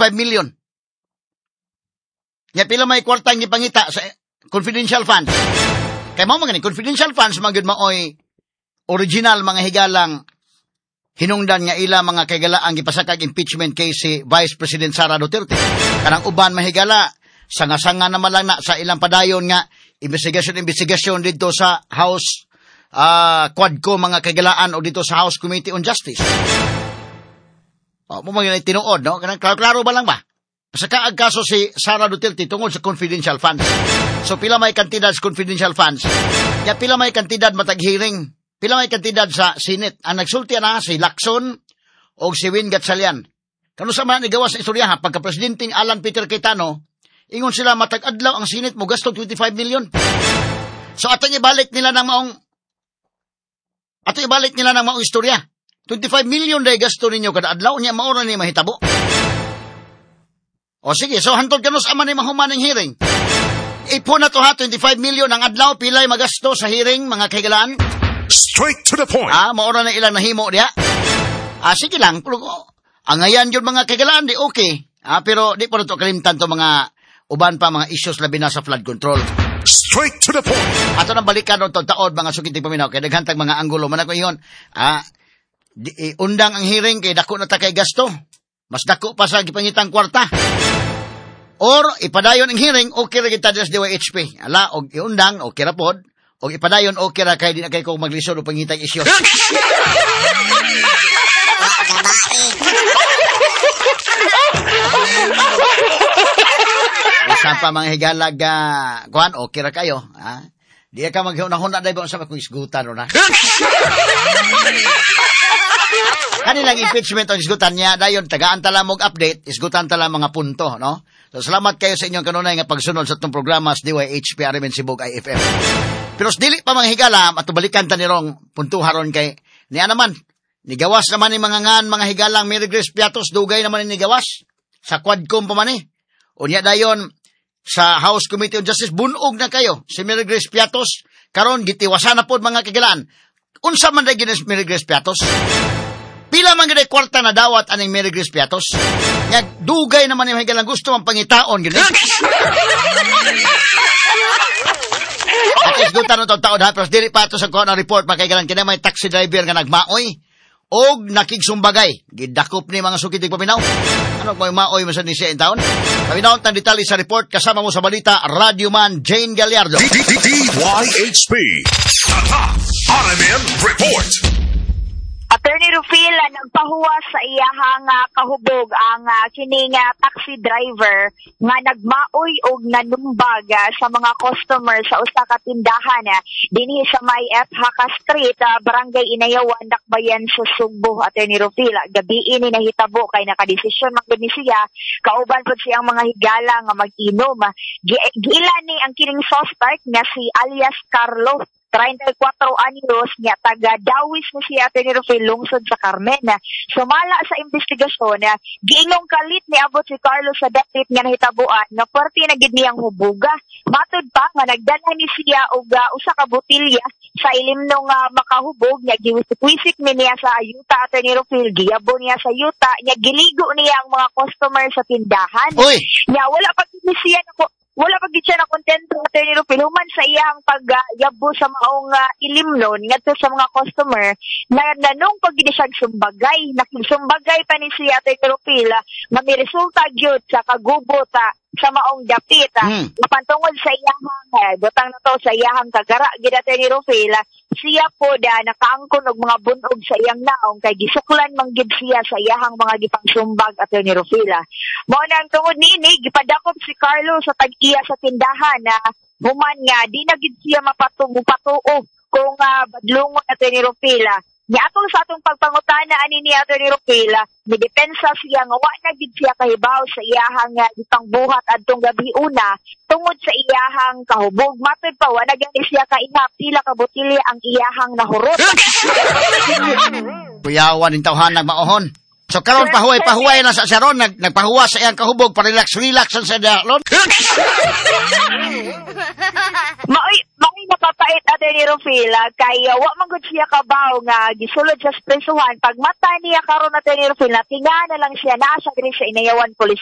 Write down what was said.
25 million. Nya pila may kwarta ang gipangita sa confidential funds? Kay mao man gani confidential funds man gyud maoy original, mga higalang, hinungdan nga ila, mga kaigalaang, gipasakag impeachment case si Vice President Sara Duterte. Kanang uban, mahigala, sanga-sanga naman lang na sa ilang padayon nga investigasyon investigasyon dito sa House Quadco, mga kaigalaan, o dito sa House Committee on Justice. O, mo mga tinuod, no? Kanang klaro ba lang ba? Sa kaag kaso si Sara Duterte tungod sa confidential funds. So pila may kantidad sa confidential funds? Ya pila may kantidad matag hearing? Pila may kantidad sa Senate? Ang nagsulti na si Lacson o si Win Gatchalian. Kano sa man igawas sa istorya ha, pagka presidente Alan Peter Cayetano, ingon sila matag adlaw ang Senate mo gasto 25 million. So atong ibalik nila ng maong istorya. 25 million day gasto ninyo kada adlaw niya, mao ra ni mahitabo. O sige, so hantod kanus ama ni mahuman ng hearing? Ipo na to ha, 25 million ang adlaw, pilay magasto sa hearing, mga kahigalaan? Straight to the point. Ah, maura na ilang nahimo diha. Ah, sige lang. Pero, ang ngayan yun, mga kahigalaan, di okay. Ah, pero di po na to kalimtan to mga uban pa mga issues, labi na sa flood control. Straight to the point. Ato nang balikan ron taod, mga sukinting paminaw, kay daghan tag mga anggulo man ako iyon. Ah, di, eh, undang ang hearing kay dako na ta kay gasto. Mas dako pa sa gipangitang kwarta. Or ipadayon ang hearing, okay ra kita sa DYHP. Ala, og iundang, okay ra pod. Og ipadayon, okay ra kay di na kay ko maglisod og pangitang issues. Gabae. Usa pa, mga higalag, kuan, okay ra kayo. Ha? Di ka maghunahuna dahil ba sa kung isgutan o na. Kanilang impeachment ang isgutan niya, dayon tagaan tala mog update, isgutan tala mga punto, no? So salamat kayo sa inyong kanunay nga pagsunod sa itong programa sa DYHP RMN Sibug IFM. Pero sa dili pa, mga higala, at balikan ta nirong puntuharon kay niya naman, nigawas naman ni mga ngan, mga higalang, Mary Grace Piatos, dugay naman ni nigawas sa Quadcom pa man eh. Unya dayon sa House Committee on Justice, bunog na kayo si Mary Grace Piatos, karon gitiwasan na pod, mga kagilaan. Unsa man day ginis Mary Grace Piatos? Pila man gid kwarta na dawat aning Mary Grace Piatos? Nga dugay naman ni higalang gusto ang pangitaon gid. At isgutan na taod ha, pero dili pa ato sa kuha ng report, mga kaigalan, kina may taxi driver nga nagmaoy og nakigsumbagay. Gidakop ni mga sukitig paminaw. Ano kung maoy mo sa ni siya in taon? Paminaw ang detalye sa report, kasama mo sa balita, Radyo Man Jane Gallardo. DYHP. Tatak RMN Report. Attorney Rufil, nagpahuwas sa iyahang kahubog ang kining taxi driver nga nagmaoy og nanumbag sa mga customer sa usa ka tindahan dinhi sa may F. Haka Street, Barangay Inayawan, Dakbayan sa Sugbo. Attorney Rufil, gabi ini nahitabo kay nakadesisyon man gud ni siya kauban pud siyang mga higala nga mag-inom. Giila ni ang kining suspect nga si alias Carlo, 34 anyos niya, taga Dawis ni siya, Attorney Rufil, lungsod sa Carmen. Sumala sa investigasyon, giingong kalit ni abot si Carlos sa dapit nga nahitabuan nga puwerte na gid niyang hubuga. Matud pa nga nagdala ni siya og usa ka botelya sa ilimno nga makahubog niya, giwisik-wisik ni niya sa yuta, Attorney Rufil, giyabo niya sa yuta niya, giligo niya ang mga customer sa tindahan. Uy! Niya wala pa gid ni siya nako wala pa gid siya na kontento, Attorney Rufil, human sa iyang pagyabo sa maong ilimnon ngadto sa mga customer na nanong pag gid siya sumbagay, nakisumbagay pa ni siya, Attorney Rufil, nga may resulta gyud sa kagubot sa maong dapit. Apan tungod sa iyahang butang na to sa iyahang kagara gid, Attorney Rufil, siya po da nakaangkon og mga bunog sa iyang naong kay gisuklan man gid siya sa iyahang mga gipangsumbag, Attorney Rufil. Mao na ang tungod niini gipadakop si Carlo sa tag-iya sa tindahan na human nga di na gid siya mapatuo kung badlungon, Attorney Rufil. Niatol sa atong pagpangutana ani ni Attorney Rufil, midepensa siya nga wa na gid siya kahibaw sa iyahang gipangbuhat adtong gabi una tungod sa iyahang kahubog. Matud pa wa na gani siya kaihap pila ka botelya ang iyahang nahurot. Kuyawan ning tawhan nagmaohon. So karon pahuway-pahuway na sa siya ron, nagpahuwa sa iyang kahubog para relax-relax ang sa ron. Maoy napapait, Attorney Rufil, kay wa man gud siya kabaw nga gisulod sa presuhan. Pag mata niya karon, Attorney Rufil, natinga na lang siya, naa siya diri sa Inayawan Police